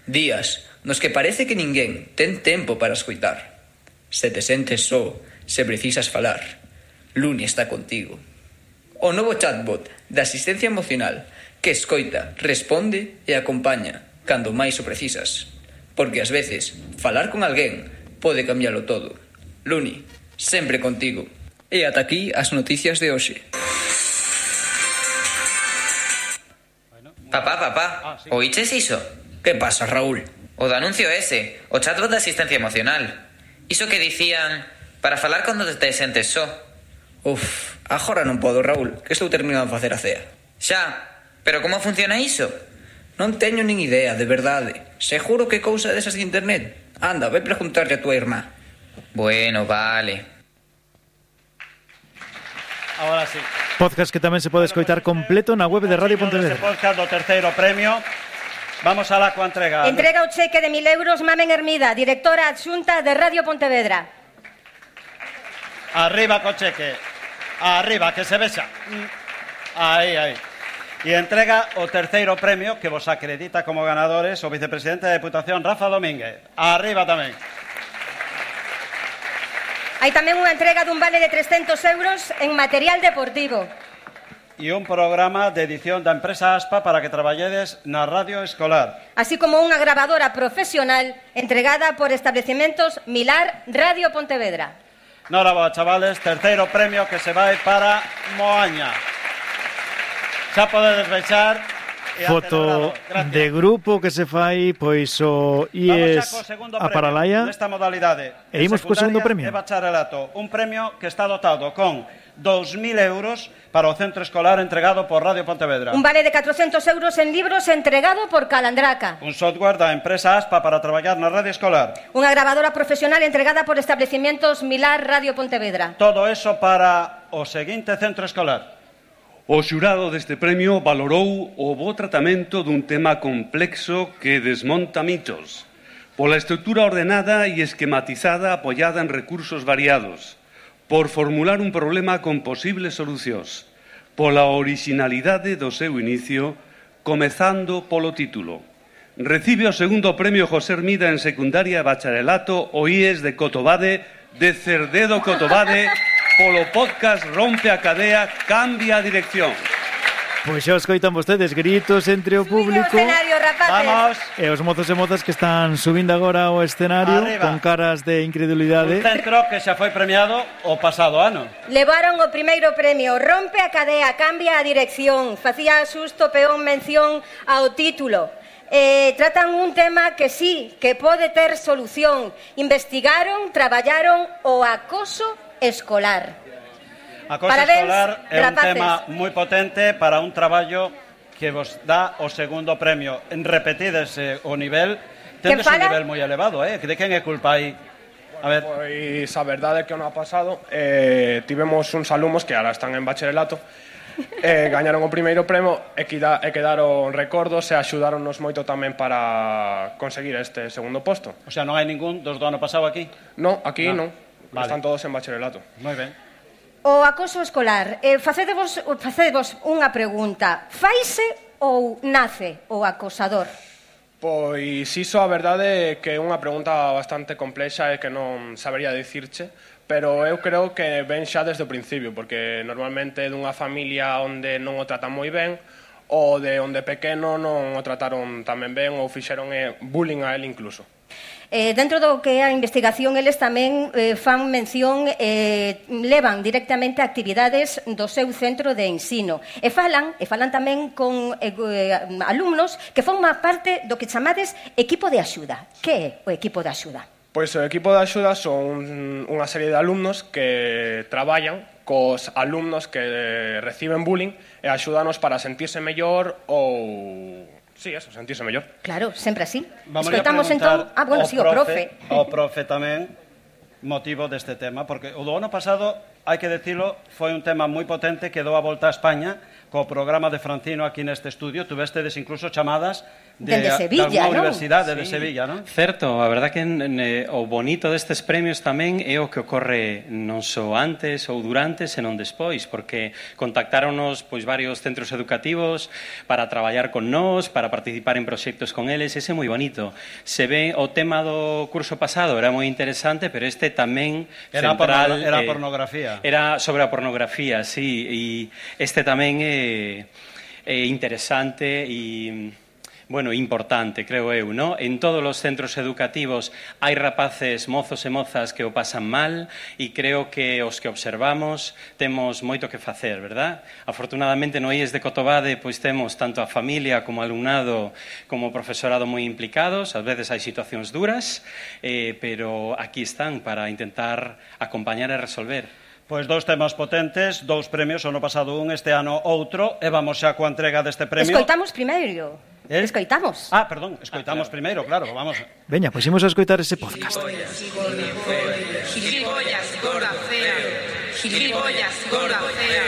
Días nos que parece que ninguén ten tempo para escoitar. Se te sentes só, se precisas falar, Luni está contigo. O novo chatbot de asistencia emocional que escoita, responde e acompaña cando máis o precisas. Porque ás veces, falar con alguén pode cambialo todo. Luni, sempre contigo. E ata aquí as noticias de hoxe. Papá, oíches iso? Que pasa, Raúl? O do anuncio ese, o chatbot de asistencia emocional. Iso que dicían para falar cando te sentes só. Uf, agora non podo, Raúl, que estou terminando de facer a cea. Xa, pero como funciona iso? Non teño nin idea, de verdade. Seguro que cousa desas de internet. Anda, vai preguntarlle a tua irmá. Bueno, vale. Ahora sí. Podcast que tamén se pode escoitar completo na web de Radio Pontevedra. Este podcast do terceiro premio. Vamos a la coentrega. Entrega o cheque de 1.000 euros Mamen Hermida, directora adxunta de Radio Pontevedra. Arriba co cheque. Arriba, que se vexa. Aí. E entrega o terceiro premio que vos acredita como ganadores o vicepresidente da Deputación, Rafa Domínguez. Arriba tamén. Hai tamén unha entrega dun vale de 300 euros en material deportivo. E un programa de edición da empresa ASPA para que traballedes na radio escolar. Así como unha grabadora profesional entregada por Establecimentos Milar Radio Pontevedra. Noraboa, chavales, terceiro premio que se vai para Moaña. Xa podedes vexar. Foto de grupo que se fai pois o IES a Paralaia nesta modalidade. E imos co segundo premio. De bacharelato, un premio que está dotado con 2.000 euros para o centro escolar entregado por Radio Pontevedra. Un vale de 400 euros en libros entregado por Calandraca. Un software da empresa ASPA para traballar na radio escolar. Unha grabadora profesional entregada por Establecimientos Milar Radio Pontevedra. Todo eso para o seguinte centro escolar. O xurado deste premio valorou o bo tratamento dun tema complexo que desmonta mitos, pola estrutura ordenada e esquematizada apoiada en recursos variados, por formular un problema con posibles solucións, pola orixinalidade do seu inicio, comezando polo título. Recibe o segundo premio José Hermida en secundaria e bacharelato o IES de Cotobade, de Cerdedo Cotobade, polo podcast Rompe a cadea, cambia a dirección. Pois xa os coitan vostedes, gritos entre o público. Escenario, rapaces. Vamos. E os mozos e mozas que están subindo agora ao escenario Arriba. con caras de incredulidade. Un centro que xa foi premiado o pasado ano. Levaron o primeiro premio. Rompe a cadea, cambia a dirección. Facía susto peón mención ao título. Tratan un tema que sí, que pode ter solución. Investigaron, traballaron o acoso escolar. Acoso Parabéns, escolar é un rapaces. tema moi potente para un traballo que vos dá o segundo premio. En repetides o nivel, tendes un nivel moi elevado, De quen é culpa aí? A ver. Pois a verdade é que o ano pasado tivemos uns alumnos que ahora están en bacharelato, gañaron o primeiro premio e quedaron recordos e axudáronnos moito tamén para conseguir este segundo posto. O sea, non hai ningún dos do ano pasado aquí? Non, aquí non. Vale. Están todos en bacharelato. Moi ben. O acoso escolar. Facedevos unha pregunta. Faise ou nace o acosador? Pois iso a verdade é que é unha pregunta bastante complexa e que non sabería dicirche, pero eu creo que ven xa desde o principio, porque normalmente é dunha familia onde non o tratan moi ben, ou de onde pequeno non o trataron tamén ben ou fixeron bullying a él incluso. Dentro do que é a investigación, eles tamén fan mención, levan directamente actividades do seu centro de ensino. E falan tamén con alumnos que forman parte do que chamades equipo de axuda. Que é o equipo de axuda? Pois o equipo de axuda son unha serie de alumnos que traballan cos alumnos que reciben bullying e axúdanos para sentirse mellor ou... Sí, eso, sentirse mellor. Claro, sempre así. Vamos Escoitamos a preguntar entón... sí, o profe. O profe tamén motivo deste tema, porque o do ano pasado hai que decirlo, foi un tema moi potente que dou a volta a España co programa de Francino aquí neste estudio. Tuvestedes incluso chamadas de Sevilla, alguna universidade de Sevilla, non? Certo, a verdad que o bonito destes premios tamén é o que ocorre non só antes ou durante, senón despois, porque contactáronos pois varios centros educativos para traballar con nós, para participar en proxectos con eles, ese é moi bonito. Se ve o tema do curso pasado era moi interesante, pero este tamén central era pornografía. Era sobre a pornografía, sí, e este tamén é interesante e bueno, importante, creo eu, ¿no? En todos os centros educativos hai rapaces, mozos e mozas que o pasan mal e creo que os que observamos temos moito que facer, verdad? Afortunadamente no IES de Cotobade pois temos tanto a familia como alumnado como o profesorado moi implicados, ás veces hai situacións duras, pero aquí están para intentar acompañar e resolver. Pois dous temas potentes, dous premios, o ano pasado un, este ano outro, e vamos xa coa entrega deste premio. Escoitamos primeiro. Escoitamos. Ah, perdón, escoitamos primeiro, claro, vamos. Veña, pois imos a escoitar ese podcast. Gilipollas, gorda fea. Gilipollas, gorda fea.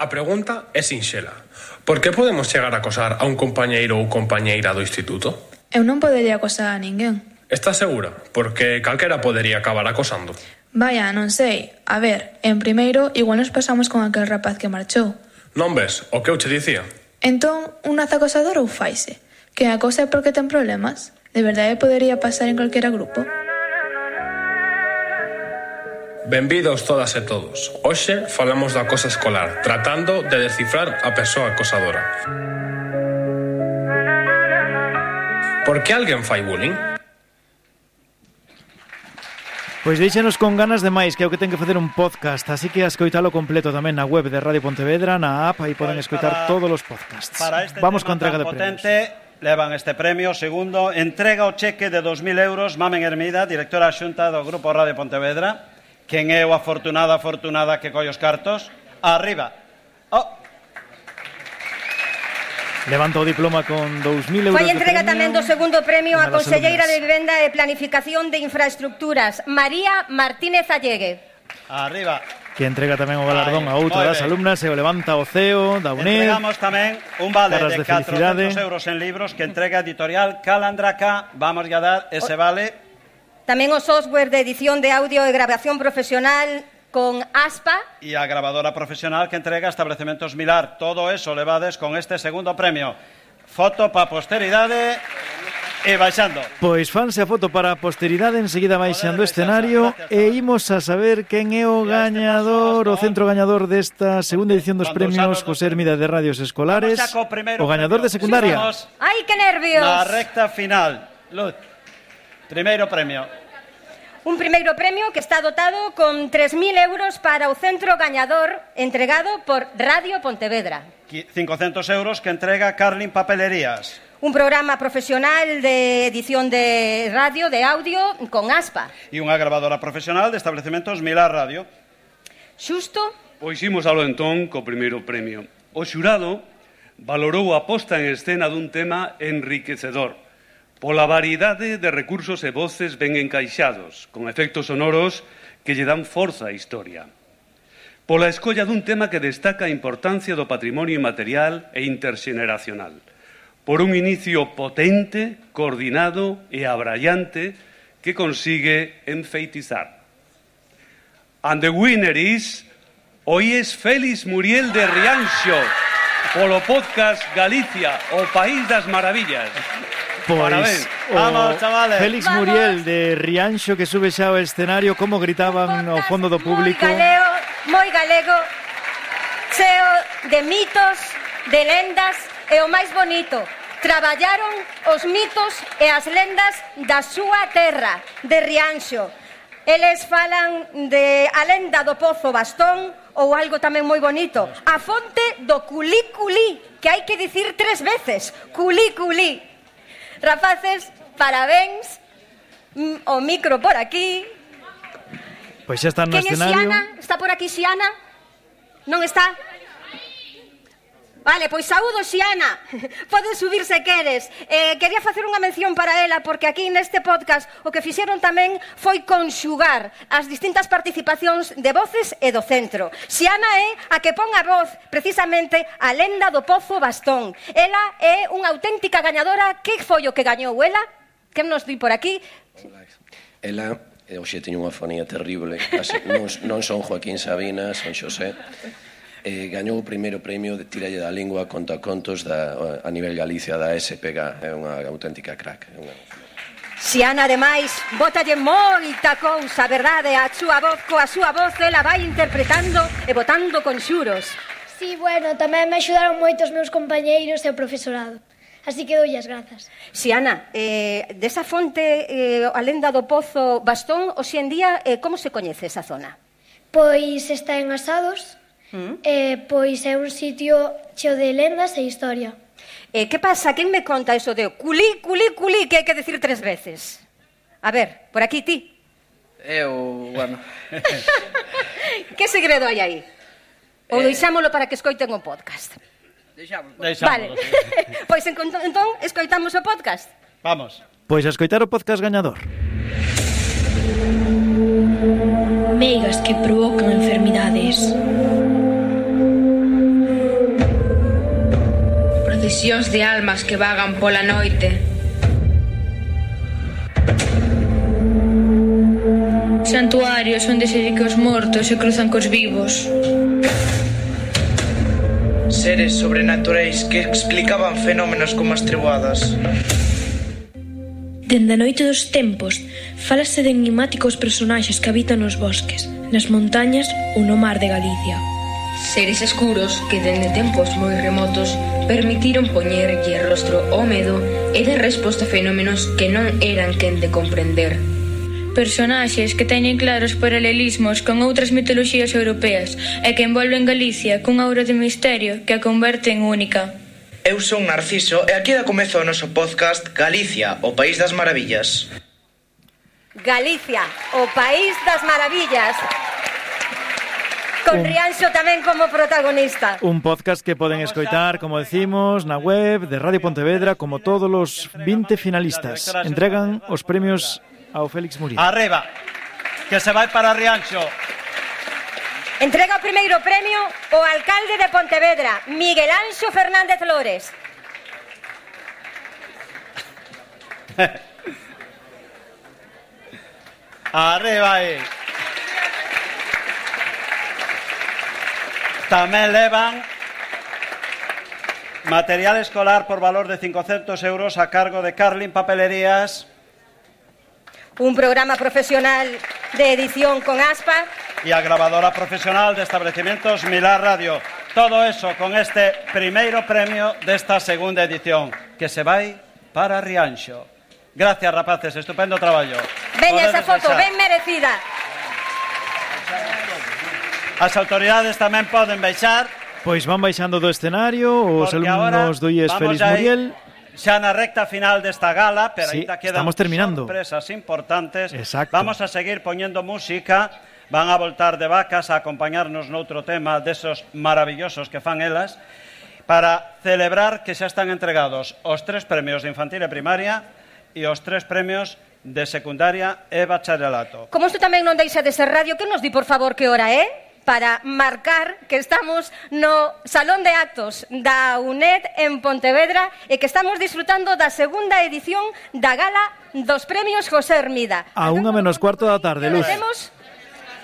A pregunta é sinxela. Por que podemos chegar a acosar a un compañeiro ou compañeira do instituto? Eu non podería acosar a ninguén. Estás segura? Porque calquera podería acabar acosando. Vaya, non sei. A ver, en primeiro, igual nos pasamos con aquel rapaz que marchou. Non ves o que eu che dicía? Entón, un acosador ou faise? Que acosa é porque ten problemas? De verdade podería pasar en calquera grupo? Benvidos todas e todos. Hoxe falamos da acoso escolar, tratando de descifrar a persoa acosadora. Por que alguén fai bullying? Pois deixenos con ganas de máis, que é o que ten que facer un podcast, así que a escoitalo completo tamén na web de Radio Pontevedra, na app, aí poden escoitar todos os podcasts. Vamos con a entrega de premios. Levan este premio, segundo, entrega o cheque de 2.000 euros, Mamen Hermida, directora xunta do Grupo Radio Pontevedra. Quen é o afortunada que colle os cartos? Arriba. Levanta o diploma con 2.000 euros. Foi entrega de premio tamén do segundo premio a conselleira de alumnas. Vivenda e Planificación de Infraestructuras, María Martínez Allegue. Arriba. Que entrega tamén o galardón a outra das alumnas e o levanta o CEO da UNED. Entregamos tamén un vale de 400 euros en libros que entrega editorial Calandraca. Vamos a dar ese vale. Tamén o software de edición de audio e grabación profesional con ASPA. E a grabadora profesional que entrega Estabelecementos Milar. Todo eso levades con este segundo premio. Foto para posteridade e baixando. Pois fanse a foto para a posteridade, enseguida baixando o escenario e imos a saber quen é o gañador, o centro gañador desta segunda edición dos premios José Hermida de Radios Escolares, o gañador de secundaria. ¡Ai, que nervios! Na recta final. Luz, primeiro premio. Un primeiro premio que está dotado con 3.000 euros para o centro gañador entregado por Radio Pontevedra. 500 euros que entrega Carlin Papelerías. Un programa profesional de edición de radio, de audio, con ASPA. E unha grabadora profesional de Estabelecementos Milar Radio. Xusto? Pois imos alo entón co primeiro premio. O xurado valorou a posta en escena dun tema enriquecedor, pola variedade de recursos e voces ben encaixados, con efectos sonoros que lle dan forza á historia. Pola escolla dun tema que destaca a importancia do patrimonio inmaterial e interxeneracional. Por un inicio potente, coordinado e abrallante que consigue enfeitizar. And the winner is o IES Félix Muriel de Rianxo, polo podcast Galicia, o País das Maravillas. Pois, vamos, chavales. Félix Muriel de Rianxo que sube xa ao escenario, como gritaban ao fondo do público. Moi galego, cheo de mitos, de lendas e o máis bonito, traballaron os mitos e as lendas da súa terra, de Rianxo. Eles falan de a lenda do Pozo Bastón ou algo tamén moi bonito, a fonte do Culí-Culí, que hai que dicir 3 veces, Culí-Culí. Rapaces, parabéns, o micro por aquí. Pois xa están no escenario. Quen é Xiana? Está por aquí Xiana? Non está? Vale, pois saúdo, Xiana. Podes subir se queres. Quería facer unha mención para ela, porque aquí neste podcast o que fixeron tamén foi conxugar as distintas participacións de voces e do centro. Xiana é a que pon a voz precisamente a lenda do Pozo Bastón. Ela é unha auténtica gañadora. Que foi o que gañou ela? Que nos di por aquí? Ela, hoxe teño unha fonía terrible, non son Joaquín Sabina, son Xosé. Gañou o primeiro premio de Tiralle da Lingua contacontos a nivel Galicia da SPG. É unha auténtica crack. Xiana, ademais, bótalle moita cousa, verdade? A súa voz, coa súa voz, ela vai interpretando e botando conxuros. Sí, bueno, tamén me axudaron moito os meus compañeiros e o profesorado. Así que doulle as grazas. Xiana, desa fonte, a lenda do Pozo Bastón, hoxe en día, como se coñece esa zona? Pois está en Asados, pois é un sitio cheo de lendas e historia. Que pasa? Quen me conta eso de culí, culí, culí, que hai que decir 3 veces? A ver, por aquí ti. Bueno. Que segredo hai aí? Ou deixámolo para que escoiten o podcast? Deixámolo. Vale. Pois entón, escoitamos o podcast. Vamos. Pois a escoitar o podcast gañador. Meigas que provocan enfermidades. Procesións de almas que vagan pola noite. Santuarios onde se di que os mortos se cruzan cos vivos. Seres sobrenaturais que explicaban fenómenos como as treboadas. Dende a noite dos tempos, fálase de enigmáticos personaxes que habitan nos bosques, nas montañas ou no mar de Galicia. Seres escuros que dende tempos moi remotos permitiron poñerlle rostro ao medo e dar resposta a fenómenos que non eran quen de comprender. Personaxes que teñen claros paralelismos con outras mitoloxías europeas e que envolven Galicia cunha aura de misterio que a converte en única. Eu son Narciso e aquí dá comezo o noso podcast Galicia, o País das Maravillas. Galicia, o País das Maravillas. Con Rianxo tamén como protagonista. Un podcast que poden escoitar, como decimos, na web de Radio Pontevedra, como todos os 20 finalistas. Entregan os premios ao Félix Muriel. Arriba, que se vai para Rianxo. Entrega o primeiro premio o alcalde de Pontevedra, Miguel Anxo Fernández Lores. Arriba aí. Tamén levan material escolar por valor de 500 euros a cargo de Carlin Papelerías. Un programa profesional de edición con Aspa. Y a grabadora profesional de establecimientos Milar Radio. Todo eso con este primeiro premio desta segunda edición, que se vai para Rianxo. Gracias, rapaces, estupendo traballo. Veña esa foto, ben merecida. As autoridades tamén poden baixar. Pois van baixando do escenario os alumnos do IES Félix Muriel. Xa na recta final desta gala, pero sí, ainda quedan sorpresas importantes. Exacto. Vamos a seguir poñendo música. Van a voltar de vacas a acompañarnos noutro tema desos maravillosos que fan elas para celebrar que xa están entregados os 3 premios de infantil e primaria e os 3 premios de secundaria e bacharelato. Como isto tamén non deixa de ser radio, que nos di, por favor, que hora é? Para marcar que estamos no Salón de Actos da UNED en Pontevedra e que estamos disfrutando da segunda edición da gala dos premios José Hermida. A 1:15 da tarde, Luz. Temos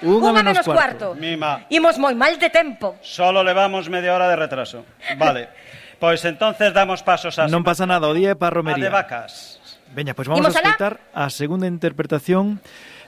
1:15. Mima. Imos moi mal de tempo. Solo levamos media hora de retraso. Vale. Pois entonces damos pasos a... Non pasa nada, o día é para romería. A de vacas. Veña, pois vamos a escoitar a segunda interpretación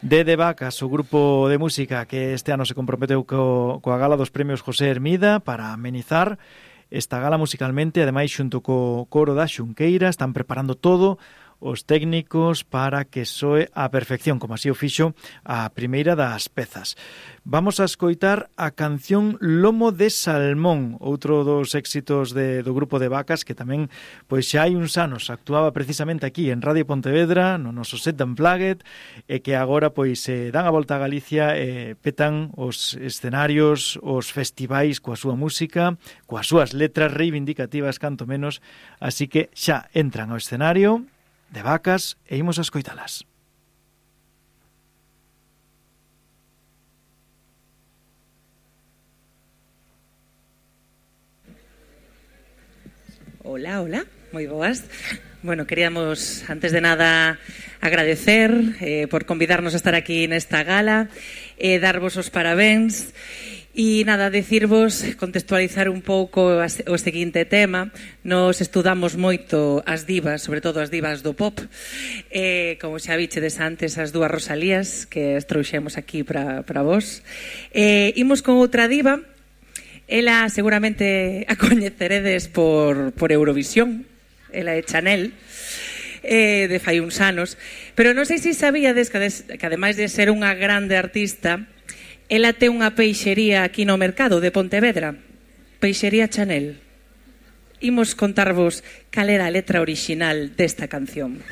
de Vacas, o grupo de música que este ano se comprometeu coa gala dos premios José Hermida para amenizar esta gala musicalmente, ademais xunto co coro da Xunqueira, están preparando todo os técnicos para que soe a perfección, como así o fixo a primeira das pezas. Vamos a escoitar a canción Lomo de Salmón, outro dos éxitos do grupo de Vacas, que tamén pois xa hai uns anos actuaba precisamente aquí en Radio Pontevedra, no noso set Unplugged, e que agora pois dan a volta a Galicia e petan os escenarios, os festivais coa súa música, coas súas letras reivindicativas canto menos, así que xa entran ao escenario de Vacas e imos a escoitalas. Hola, hola, moi boas. Bueno, queríamos, antes de nada, agradecer por convidarnos a estar aquí nesta gala, darvos os parabéns e, nada, decirvos, contextualizar un pouco o seguinte tema. Nos estudamos moito as divas, sobre todo as divas do pop, como xa vichedes antes as dúas Rosalías, que as trouxemos aquí para vos. Imos con outra diva. Ela seguramente a coñeceredes por Eurovisión. Ela é Chanel, de fai uns anos. Pero non sei se sabíades que ademais de ser unha grande artista, ela ten unha peixería aquí no mercado de Pontevedra. Peixería Chanel. Imos contarvos cal era a letra orixinal desta canción.